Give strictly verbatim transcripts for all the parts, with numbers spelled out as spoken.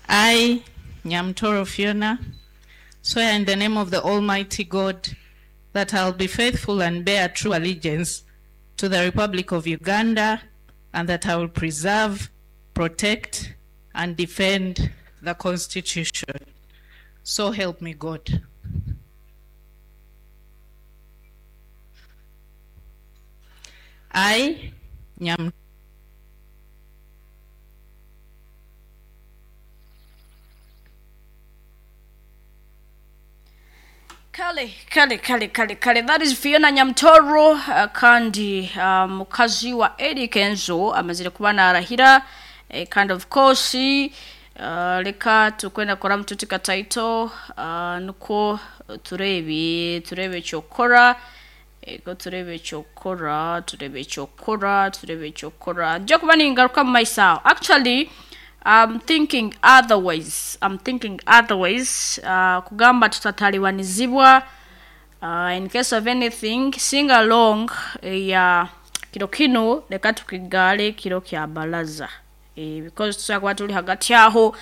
I, Nyamtoro Fiona, swear in the name of the Almighty God that I'll be faithful and bear true allegiance to the Republic of Uganda and that I will preserve, protect, and defend the Constitution. So help me God. I, Nyam Kale, kale, kale, kale, kale. That is Fiona Nyamtoro uh, kandi uh, mukazi wa Eddie Kenzo amazire kuba narahira eh, kind of course uh, reka tukwenda kora mututika title uh, nuko turebe turebe cyokora ego turebe cyokora turebe cyokora turebe cyokora nje kuba ningaruka mu maisha actually I'm thinking otherwise I'm thinking otherwise uh, kugamba tutataliwanizibwa uh, in case of anything sing along ya kiro kino reka tukigale kiro kya baraza eh, because tushobora kuba turi hagati aho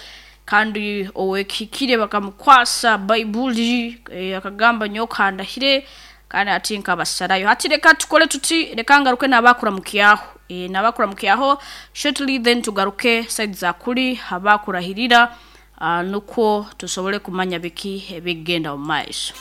kandi owekikire bakamukwasa bayibuli eh, akagamba nyoka ndahire kandi ati nkabasarayo hati reka tukole tuti reka ngaruke nabakuramukiyaho e, nabakuramukiyaho shortly then tugaruke side za kuri abakurahirira uh, nuko tusobole kumanya biki ebigenda mu maiso.